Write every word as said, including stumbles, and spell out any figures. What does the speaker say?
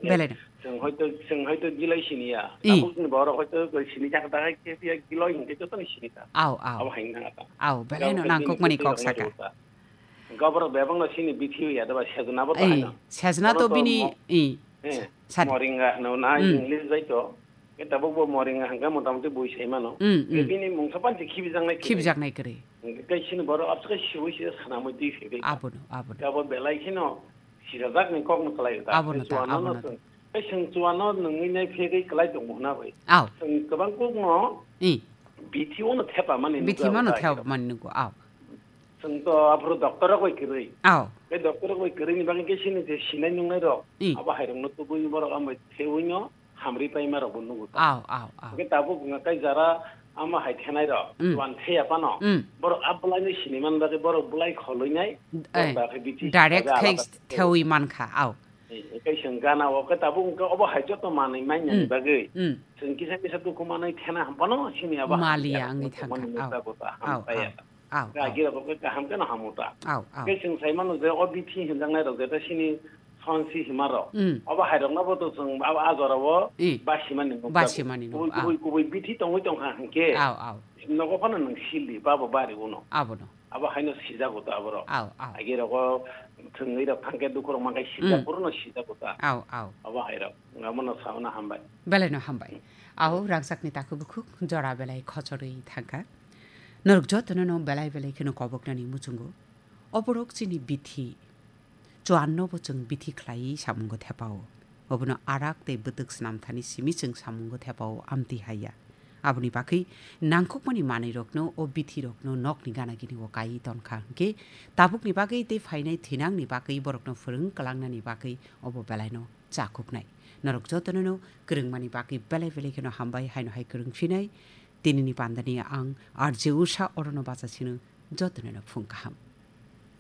Belai no. Chwng hoito, chwng hoito giloi siniya. I. Tabukni borok hoito giloi sini jak da hai khe phiya giloi hinkhe jotono sini ta. Au, au. Abo hai wngkha ta. Au, belai no nangkukmani kok saka. Gaborok bebak no sini bithi ya da ba sejna bo bahai no. Sejna to bini, i. Eh, sani. Moringa hwno na English bai to. Ke tabuk bo moringa hwnkhe motamoti bui sai mano. Mm, mm. Bini mungsa panti khibijaknai kwrwi. Khibijaknai kwrwi. Tei chini borok abswk khe siwi se sanamwi twi se twi. Abono, abono. Abo belai kheno sijajakni kokno kwlai ta. Abono ta, abono ta. Tei chwng chuano nungwi nai phegwi kwlai tongo hwnna bai. Aw. Chwng kwbang kokno bithi ono thepa mani nukgo. Bithi mano thepa mani nukgo, aw. Chwng to aphuru doctor rok bai kwrwi. Aw. Tei doctor rok bai kwrwini bagwi khe chini je sinai nungnai rok. Abo hai rokno tubui borok ambai thewi no hamri paima rok bo nugo ta. Aw, aw, aw. Hwnkhe tabuk wngkha kai jara ama hai thenai rok, chuan theya phano. Borok a bwlai no sini man bagwi borok bwlai kholwi nai, borok dakhe bithi direct khe thewi mankha, aw. Kai chwng gana o khe tabuk wngkha obo hai joto manwi manya ni bagwi. Chwng kisa kisa dukhu manwi thena ham phano sini abo maliya wngwi thangkha, aw. Aw, aw. Aw, aw. Agi rok khe kaham khe no hamu ta. Aw, aw. Khe chwng sai mano je o bithi hinjaknai rok jeta sini sonsi hima rok. Obo hai rok no bo to chwng abo a jora o basimani nukjago. Basimani nukjago. Kubui, kubui, kubui bithi tongwi tongkha hinkhe. Aw, aw. Nogo phano nwng sili babo bari uno. Abono. Abo haino sijago ta aborok. Aw, aw. Agi rogo thwngwi rok thangkhe dukhu rok mankhe sijak, mm, phuru no sijago ta. Aw, aw. Abo hai rok. Amo no sauna hambai. Belai no hambai. Aw, rangchakni takhuk bukhuk jora belai khochorwi thangkha. Norok jotono no belai belai kheno koboknani muchungo. Oborok chini bithi. Chuanno bo chwng bithi khlaiwi samungo thepao. Obono arak tei bwtwk snamthani simi chwng samungo thepao amtwi haiya. Aboni bagwi nangkukmani manwirokno o bithirokno nokni gana gini o kaiwi tonkha hwnkhe tabukni bagwi tei phainai thinangni bagwi borokno phwrwng kwlangnani bagwi obo belaino chakuknai. Norok jotonono kwrwngmani bagwi belai belai kheno hambai haino hai kwrwng phinai. Tinini pandani ang R J Usha orono bacha sino jotonono phung kaham.